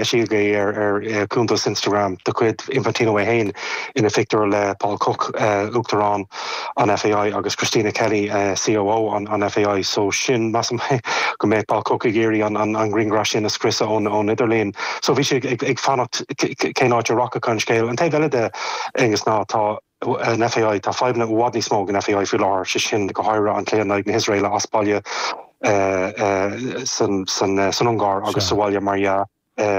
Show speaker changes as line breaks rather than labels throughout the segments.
Eisíodh é ar chuntas Instagram de chuid Infantino é féin ina phictiúr le Paul Cooke, Uachtarán an FAI agus Christina Kelly, COO an FAI. So sin, measaim go mbeadh Paul Cooke ag iarraidh an grianghraf sin a scriosadh ón idirlíon. So bhí sé ag fanacht cén áit a rachadh an scéal. An taobh eile de, Aonghus, ná tá an FAI, tá fadhbanna i bhfad níos mó ag an FAI faoi láthair, sé sin go háirithe an cluiche in aghaidh na hIosraeile as baile san Ungáir agus sa bhaile mar dhea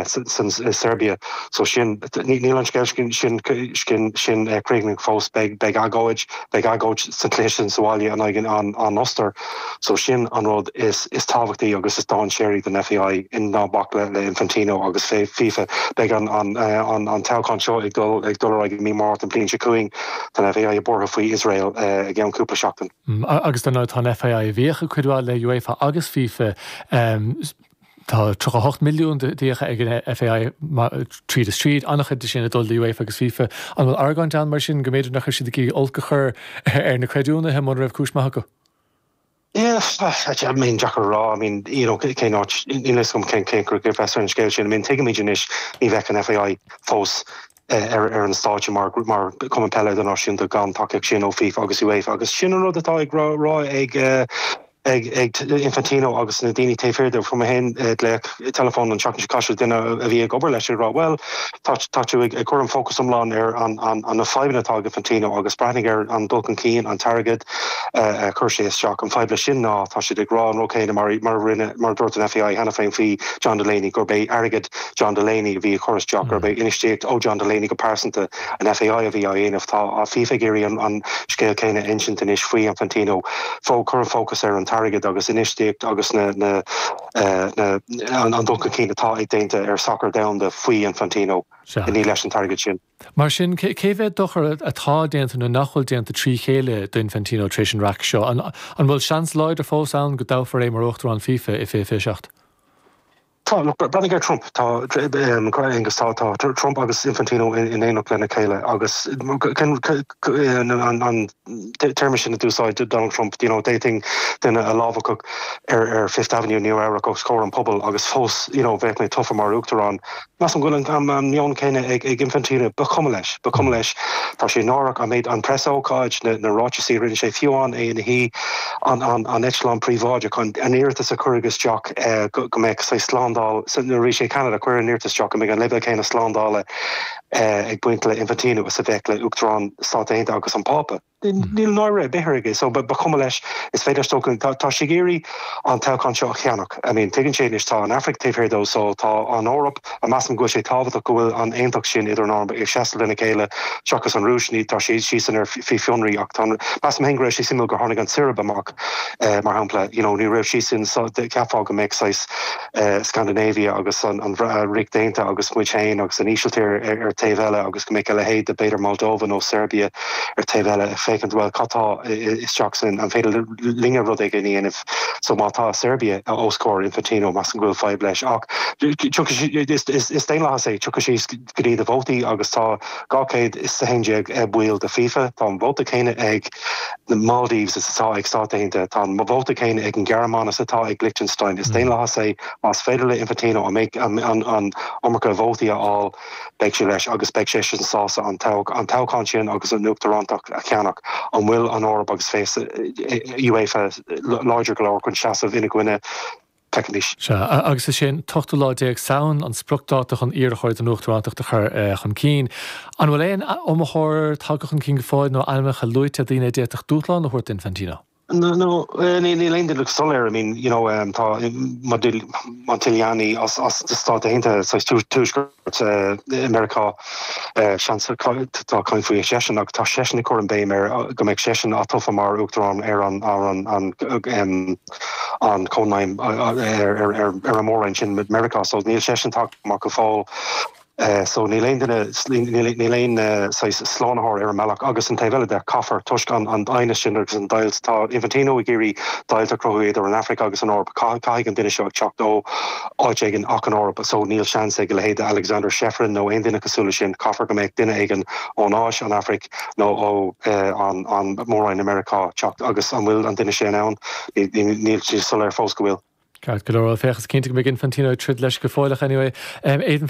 san Seirbia. So sin, níl an scéal sin sin críochnaithe fós, beidh agóid, beidh agóid sa chluiche sin sa bhaile in aghaidh an Ostair. So sin an rud is tábhachtaí agus is dainséaraí don FAI, ná bac le Infantino agus FIFA. Beidh an toghchán seo ag dul ag dul ar aghaidh i mí Márta an bhliain seo chugainn. Tá an FAI buartha faoi Iosrael i gceann cúpla seachtain.
Agus dar ndóigh tá an FAI a bhíodh ag cuid mhaith le UEFA agus FIFA. Tá 38 milliún d'fhiacha ag an FAI tríd is tríd, an-chuid de sin ag dul do UEFA agus FIFA. An bhfuil argóint ann mar sin go mb'fhéidir nach raibh siad ag iarraidh olc a chur ar na creidiúnaithe mura raibh cúis maith acu?
Yeah, I mean, deacair a rá, I mean, you know, cén áit, níl a fhios agam cén cén cur bheas ar an scéal sin. I mean, tuigimid anois ní bheadh an FAI fós ar ar an stáitse mar mar Cumann Peile Idirnáisiúnta gan tacaíocht sin ó FIFA agus UEFA agus sin an rud atá ag rá rá ag ag ag Infantino agus na daoine taobh thiar de. Fuair mé féin glaoch teileafóin an tseachtain seo caite duine a bhí ag obair leis ag rá bhuel tá tá tú ag ag cur an fócas iomlán ar an an an na fadhbanna atá ag Infantino agus breathnaigh ar an dul chun cinn, an t-airgead a chuir sé isteach. An fadhb leis sin ná tá siad ag rá an rud céanna mar mar a rinne mar a dúirt an FAI cheana féin faoi John Delaney gurb é airgead John Delaney a bhí ag cur isteach, gurb é infheistíocht ó John Delaney go pearsanta an FAI a bhí á dhéanamh. Tá FIFA ag iarraidh an an scéal céanna a insint anois faoi Infantino. Fó cur an fócas ar an t-airgead agus infheistíocht agus na na na an dul chun cinn atá ag déanta ar sacar domhanda faoi Infantino. Ní leis an t-airgead sin.
Mar sin, cé mhéad dochar atá déanta nó nach bhfuil déanta trí chéile d'Infantino tar éis an raic seo? An bhfuil seans láidir fós ann go dtoghfar é mar Uachtarán FIFA i 2027?
Tá, look, breathnaigh ar Trump. Tá, Aengus, tá, tá Trump agus Infantino in éineacht lena chéile agus an téarma sin a d'úsáid Donald Trump, you know, d'fhéadfainn duine a lámhachadh ar ar Fifth Avenue i Nua Eabhrac os comhair an pobail agus fós, you know, bheadh mé tofa mar Uachtarán. Measaim go bhfuil an meon céanna ag Infantino. Ba chuma leis. Ba chuma leis. Tá sé náireach an méid, an preasócáid, na ráitisí a rinne sé, fiú amháin é ina shuí, an eitleán príobháideach, an iarratas a cuireadh isteach go mbeadh saghas slándáil, nuair a bhí sé i gCeanada, cuireadh an iarratas isteach go mbeadh an leibhéal céanna slándála ag baint le Infantino is a bheadh le Uachtarán Stáit Aontaithe agus an Pápa. Níl náire ar bith air aige so ba chuma leis, is féidir leis dul chun, tá sé ag iarraidh an toghchán seo a cheannach. I mean tuigeann sé anois tá an Afraic taobh thiar dó so tá an Eoraip, a measaim go bhfuil sé tábhachtach go bhfuil an aontacht sin idir an Eoraip ag seasamh lena chéile seachas an Rúis, ní, tá siadsan ar faoi fionraí ach tá an, measaim féin go raibh sé suimiúil gur tháinig an tSeirbia amach mar shampla, you know ní raibh siadsan so cheapfá go mbeadh saghas Scandinavia agus an Ríocht Aontaithe agus muid féin agus an Ísiltír ar taobh eile agus go mbeadh a leithéid de b'fhéidir Moldova nó Serbia ar taobh eile ag féachaint bhuel cad tá isteach sin, an féidir linne rud éigin a dhéanamh so má tá Serbia os comhair Infantino measaim go bhfuil fadhb leis ach is daonlathas é, tiocfaidh sé go dtí do vótaí agus tá 211 baill de FIFA, tá an vóta céanna ag na Maldives is atá ag Stáit Aontaithe, tá an vóta céanna ag an Ghearmáin is atá ag Liechtenstein. Is daonlathas é, más féidir le Infantino an iomarca vótaí a fháil, beidh sé leis agus beidh seisean sásta an toghchán sin agus an uachtarántacht a cheannach. An bhfuil an Eoraip agus UEFA láidir go leor chun seasamh ina gcoinne? Feicfimid.
Sea, agus is é an t-ochtú lá déag Samhain an spriocdháta chun iarrthóir don uachtarántacht a chur chun cinn. An bhfuil aon iomaitheoir tagtha chun cinn go fóill nó ainmneacha luaite, daoine a d'fhéadfadh dúshlán a thabhairt d'Infantino?
No, níl aon duine go soiléir. I mean, you know, tá Montagliani as na Stáit Aontaithe, saghas tuaisceart Meiriceá, seans, tá caint faoi seisean ach tá seisean ag cur an béim ar go mbeadh seisean atofa mar uachtarán ar an an an Cónaidhm ar an mór-roinn sin Meiriceá so níl seisean tagtha amach go fóill. So níl aon duine, níl aon saghas slánaitheoir ar an mbealach agus an taobh eile de, caithfear, toisc an aighneas sin agus an deighilt, tá Infantino ag iarraidh deighilt a chruthú idir an Afraic agus an Eoraip, caithfidh an duine seo ag teacht ó áit éigin ach an Eoraip so níl seans ag a leithéid de Alexander Čeferin nó aon duine cosúil leis sin, caithfear go mbeadh duine éigin ón Áis, an Afraic nó ó an Mór-Roinn i Meiriceá teacht agus an bhfuil an duine sin ann? Níl sé soiléir fós go bhfuil.
Ceart go leor, bhuel féach, is cinnte go mbeidh Infantino ag troid leis go fóilleach anyway. Aidan Fitzmaurice.